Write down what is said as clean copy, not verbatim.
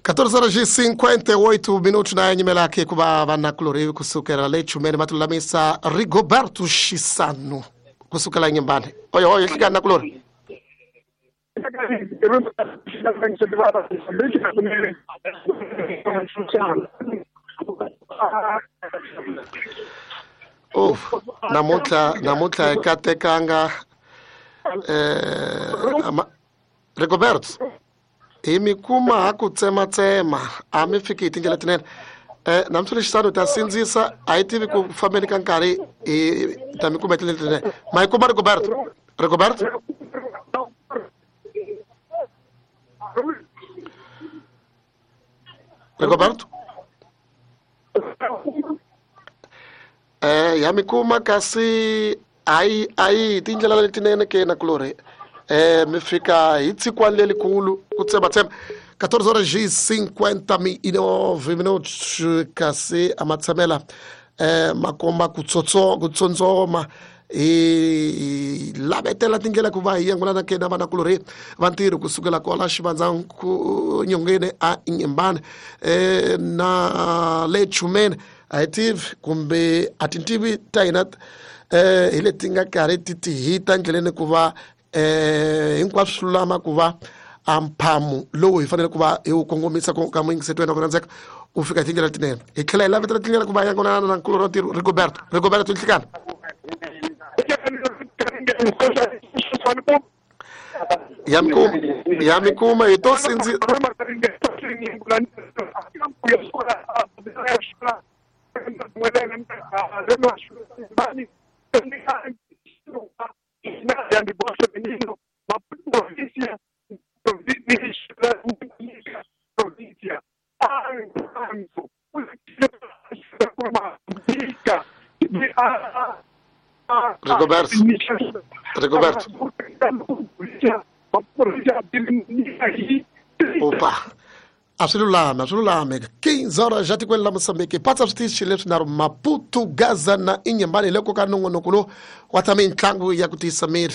14 horas e 58 minutos na nyimelaki ku va vanakulorhi kusukela le chumeni va tilulamisa Rigoberto Xisano kusukela Nyimbani. Oyo oyo hlika nakulorhi. Uf, namuntlha hi katekanga Rigoberto hi mi kuma ha ku tsematsema a mi fiki hi tindlela tinene. Namuntlha lexisano ta sindzisa a yi tivi ku fambeni ka nkarhi hi ta mi kuma hi tindlela tinene. Ma yi kuma Rigoberto? Rigoberto? Rigoberto? Ya mi kuma kasi ayi ayi tindlela letinene ke nakulorhi. Mi fika hi tsikwani lelikulu ku tsematsema. 14 horas e 59 minutos kasi a ma tshamela makomba ku tsondzoma hi lavetela tindlela ku va hi yangulana ke na vanakulorhi va ntirho kusukela kwala xivandza nyongeni a Nyimbani na le Chumeni. A hi tivi kumbe a tintivi ta hina hi leti nga karhi ti ti hita ndleleni ku va hinkwaswo swi lulama ku va a mphamu lowu hi fanele ku va hi wu kongomisa ka muyingiseti wena ku rhandzeka u fika hi tindlela tinene. Hi tlhela hi lavetela tindlela ku va yangonana na nkulu ra ntirho Rigoberto. Rigoberto nhlikana. Ya mi kuma hi to sindzi Rigoberto. Rigoberto. Opa. A swi lulami, a swi lulami. 15 horas ja tikweni la Mozambique. Patsa switichi leswi nharhu Maputo, Gaza na Inhambane hi le ka nongonoko lowu wa ta mitlangu ya ku tiyisa miri.